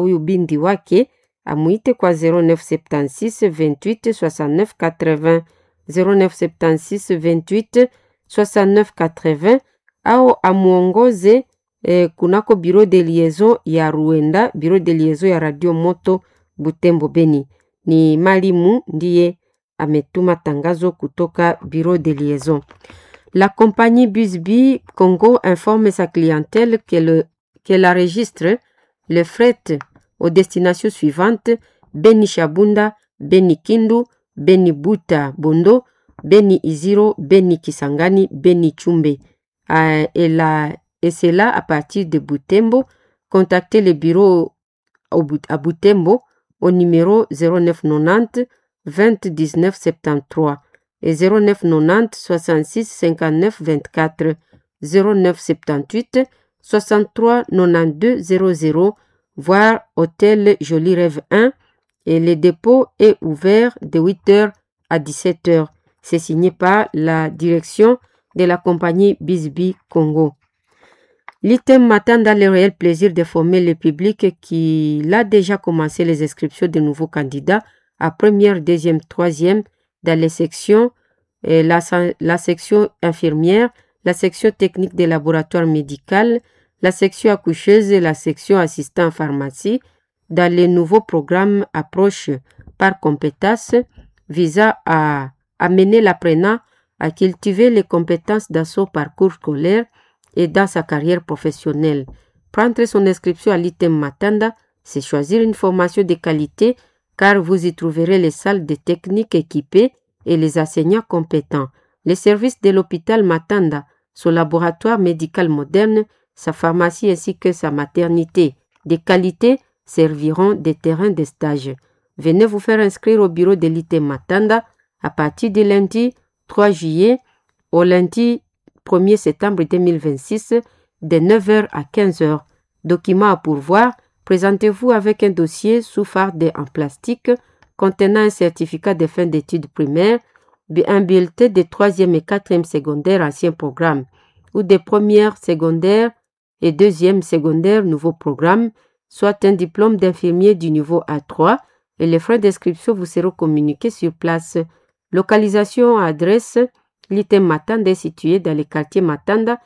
Huyu binti wake amuite kwa 0976 28 69 80, 0976 28 69 80 au amuongoze kunako bureau de liaison ya Ruenda, bureau de liaison ya Radio Moto Butembo Beni. Ni Malimu ndiye ametuma tangazo kutoka bureau de liaison. La compagnie Busby Congo informe sa clientèle qu'elle enregistre le fret aux destinations suivantes: Beni Shabunda, Beni Kindu, Beni Buta Bondo, Beni Iziro, Beni Kisangani, Beni Chumbe. Et cela à partir de Butembo. Contactez le bureau à Butembo au numéro 0990 20 19 73 et 09 90 66 59 24, 09 78 63 92 00, voire Hôtel Joli Rêve 1, et le dépôt est ouvert de 8h à 17h. C'est signé par la direction de la compagnie Bisbi Congo. L'ITEM m'attend le réel plaisir de former le public qui l'a déjà commencé les inscriptions de nouveaux candidats à première, deuxième, troisième dans les sections, la section infirmière, la section technique des laboratoires médical, la section accoucheuse et la section assistant en pharmacie dans les nouveaux programmes approche par compétences visant à amener l'apprenant à cultiver les compétences dans son parcours scolaire et dans sa carrière professionnelle. Prendre son inscription à l'ITEM Matanda, c'est choisir une formation de qualité car vous y trouverez les salles de technique équipées et les enseignants compétents. Les services de l'hôpital Matanda, son laboratoire médical moderne, sa pharmacie ainsi que sa maternité de qualité serviront de terrain de stage. Venez vous faire inscrire au bureau de l'ITEM Matanda à partir du lundi 3 juillet au lundi 1er septembre 2026 de 9h à 15h. Documents à pourvoir, présentez-vous avec un dossier sous farde en plastique contenant un certificat de fin d'études primaires, un bulletin de 3e et 4e secondaire ancien programme ou de première secondaire et deuxième secondaire nouveau programme, soit un diplôme d'infirmier du niveau A3, et les frais d'inscription vous seront communiqués sur place. Localisation, adresse, l'ITEM Matanda est situé dans le quartier Matanda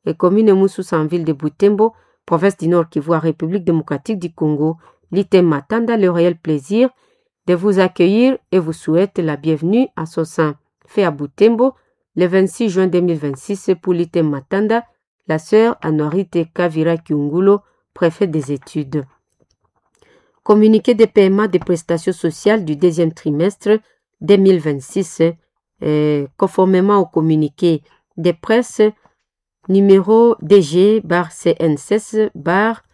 et commune Moussous en ville de Butembo, province du Nord Kivu, République démocratique du Congo. L'ITEM Matanda, le réel plaisir de vous accueillir et vous souhaite la bienvenue à son sein. Fait à Butembo le 26 juin 2026 pour l'ITEM Matanda, la sœur Anorite Kavira Kiungulo, préfet des études. Communiqué de paiement des prestations sociales du deuxième trimestre 2026, conformément au communiqué de presse numéro DG bar CN16 bar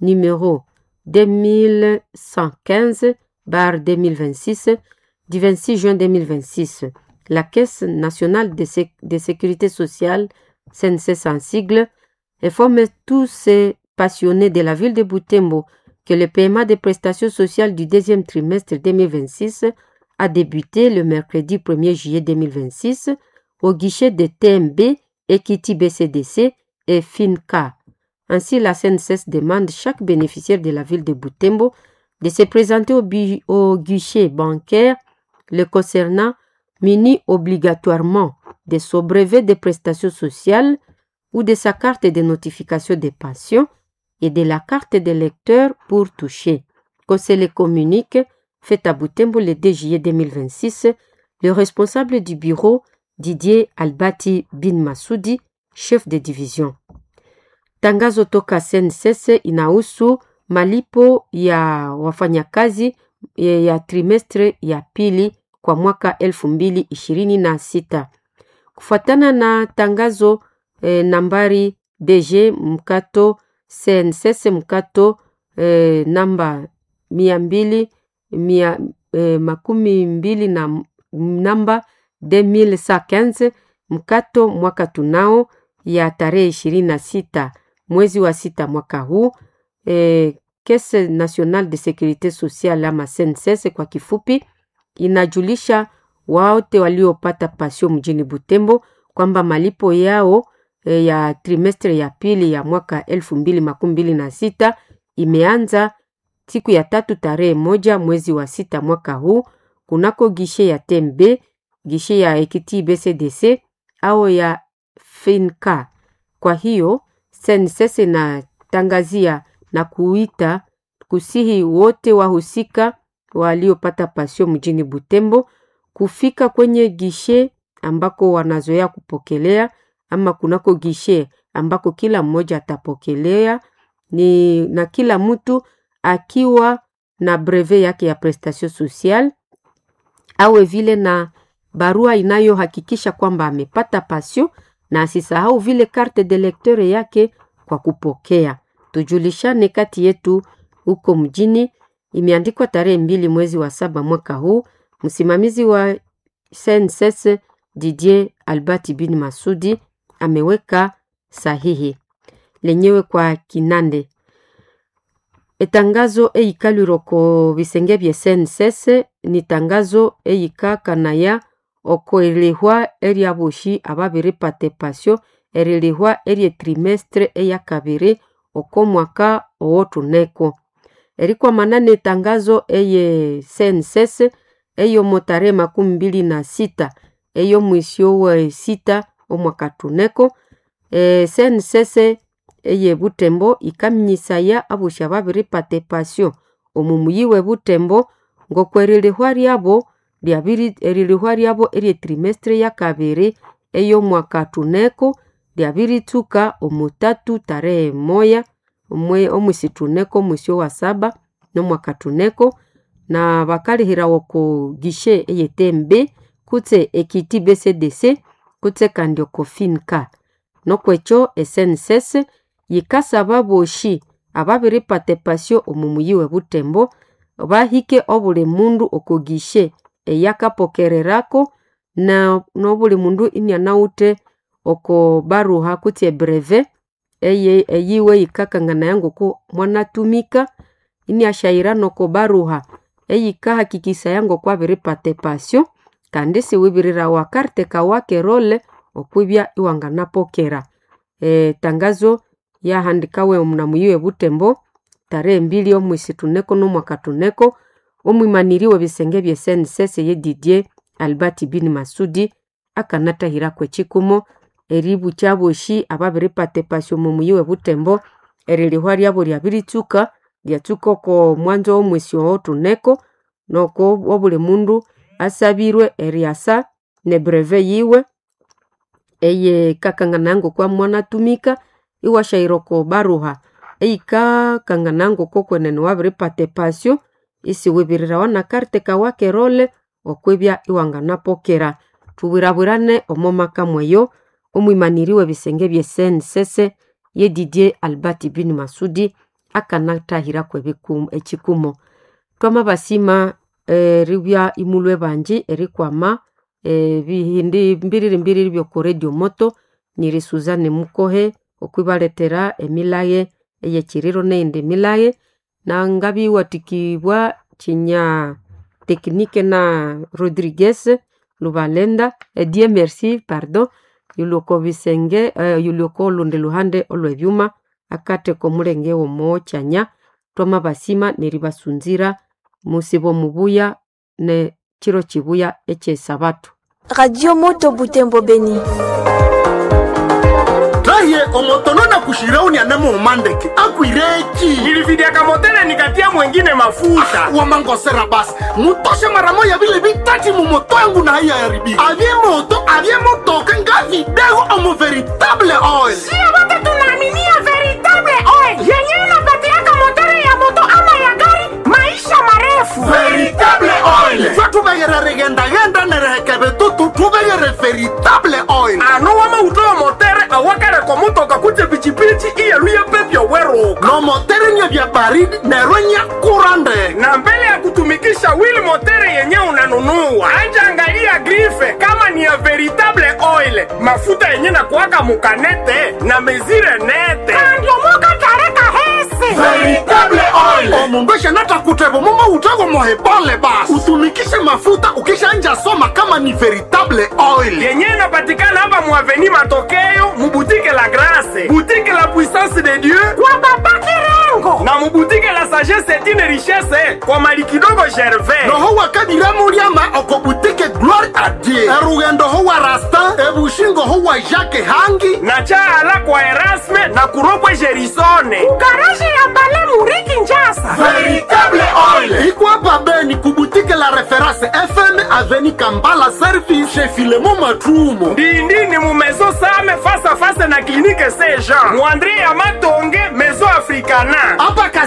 numéro 2115 bar 2026 du 26 juin 2026. La Caisse nationale de sécurité sociale, CNSS en sigle, informe tous ces passionnés de la ville de Butembo que le paiement des prestations sociales du deuxième trimestre 2026 a débuté le mercredi 1er juillet 2026 au guichet de TMB, Equity BCDC et FINCA. Ainsi, la CNSS demande chaque bénéficiaire de la ville de Butembo de se présenter au guichet bancaire le concernant, muni obligatoirement de son brevet de prestations sociales ou de sa carte de notification des pensions et de la carte de lecteur pour toucher. Conseil le communique fait à Butembo le 2 juillet 2026, le responsable du bureau Didier Albati Bin Masudi, chef de division. Tangazo toka CNSS inahusu malipo ya wafanyakazi ya trimestre ya pili kwa mwaka 2026. Kufuatana na tangazo nambari DG mkato CNSS mkato namba mia mbili mia, makumi mbili na namba 2115 mkato mwaka tunao ya tarehe 26 mwezi wa sita mwaka huu. Caisse Nationale de Securite Sociale ama CNSS kwa kifupi, inajulisha wote waliopata pasio mjini Butembo kwamba malipo yao ya trimestre ya pili ya mwaka 2026 imeanza siku ya tatu tarehe 1 mwezi wa sita mwaka huu kunako gishe ya TMB, gishe ya Ekiti BCDC au ya Finca. Kwa hiyo SNCC inatangazia na kuita kusihi wote wahusika waliopata pasio mjini Butembo kufika kwenye gishe ambako wanazoea kupokelea ama kunako gishe ambako kila mmoja atapokelea ni na kila mtu akiwa na brevet yake ya prestation sociale awe vile na barua inayohakikisha kwamba amepata pasio na asisahau vile carte de lecteur yake kwa kupokea. Tujulishane kati yetu huko mjini. Imeandikwa tarehe 2 mwezi wa saba mwaka huu. Msimamizi wa SNCC Didier Albert bin Masudi ameweka sahihi lenyewe kwa Kinande. Etangazo eikalwiroko bisenge bya SNCC ni tangazo eyikakanaya okoelehwa eryaboshi ababiripata epasio erilihwa erye trimestre eyakabiri okomwaka owothuneko. Erikwamana netangazo eye SNCC eyomo tarehe 26 eyomwisi owe sita omwaka thuneko. SNCC eye Butembo ikaminyisaya abosi ababiripata epasio omu muyi we Butembo ngokwerilihwa ryabo erilihwa ryabo erye trimestre yakabiri eyomwaka thuneko lyabiritsuka omu tatu tarehe 1 omwisi thuneko omwisi owa saba nomwaka thuneko, na bakalihirawa oko gishe eye TMB kutse Ekiti BCDC kutse kandi oko Finca. Nokwekyo SNCC yikasaba abosi ababiripata epasio omu muyi we Butembo bahike obuli mundu oko gishe eyakapokererako na nobuli mundu inianawithe oko baruha kutse ebrevet eyiwe yikakanganaya ngoko mwanatumika iniasyayira noko baruha eyikahakikisaya ngoko abiripata epasio kandi siwibirirawa karte kawa kerole okwibya iwanganapokera. Tangazo yahandikawe muna muyi we Butembo tarehe 2 omwisi thuneko nomwaka thuneko. Omwimaniri w'ebisenge bya SNCC ye Didier Albert bin Masudi akanathahirako ekikumo eribukya abosi ababiripata epasio omu muyi we Butembo erilihwa ryabo lyabiritsuka lyatsuka oko mwanzo w'omwisi owothuneko noko obuli mundu asabirwe eryasa ne brevet yiwe eyikakanganaya ngoko mwanatumika iwasyahira oko baruha eyikakanganaya ngoko kwenene wabiripata epasio isiwibirirawa na karte kawa kerole okwibya iwanganapokera. Thubwirabwirane omo maka mweyo. Omwimaniri w'ebisenge bya SNCC ye Didier Albert bin Masudi akanathahirako ekikumo. Twamabasima eribya imulwe banji erikwama ebihindi mbiriri mbiriri by'oko Radio Moto. Niri Suzanne Mukohe okwibalethera emilaye eyekiriro neyindi milaye nangabiwathikibwa kinya tekinike na Rodriguez Lubalenda Dieu merci pardon yuloko bisenge yuloko olundi luhande olwebyuma akatheka omulenge w'omokyanya. Twamabasima neribasunzira musibo mubuya ne kiro kibuya ekyesabatu. Radio Moto Butembo Beni. Raye omotono na kushirauni anemo umandeke akwireki nilividiaka motele nikatia mwengine mafuta wamangosera basi mutoshe mara moya vile vitati mumoto yangu na haiya yaribika avye moto avye motoka nga vidego omo veritable oil. Sio wote tunaaminia veritable oil yenyewe inapatiaka motori ya moto ama ya gari maisha marefu. Veritable oil twe tuvegere rigendagenda nerehekeve tutu tuvegere veritable oil. Ano wamautowa motere awakareko motoka kutse pichipichi iyeluye pepyo weruka no motere nye vya baridi nerwe nye kurande. Na mbele ya kutumikisha wili motere yenye unanunua anja angalia grife kama ni ya veritable oil, mafuta yenye na kuwaka mukanete na mezire nete Andiomoka tareka hese Veritable oil omundu eshanatakutevo mumo utego mohebole basi utumikishe mafuta ukishanja soma kama ni veritable oil yenye inapatikana hapa muaveni Matokeo mubutike la Grace, butike la Puissance de Dieu kwa baba Kirengo. Butembo. Na mubutike la Sagesse Etine Richesse kwa mali kidogo Gervais. Noho wakabira muliama okobutike Gloire a Dieu. Erugendo ho wa Rastin, ebushingo ho wa Jacques Hangi. Na chaala kwa Erasme na kuropwe Gerisone. Garaje ya Mbale Muriki Njasa. Veritable Oil ikwapa Beni kubutike la Reference FM aveni Kambala Service chez Filemo Matrumo. Ndindini mu maison Same face à face na clinique Saint Jean. Muandre ya Matonge maison Africana. Apa.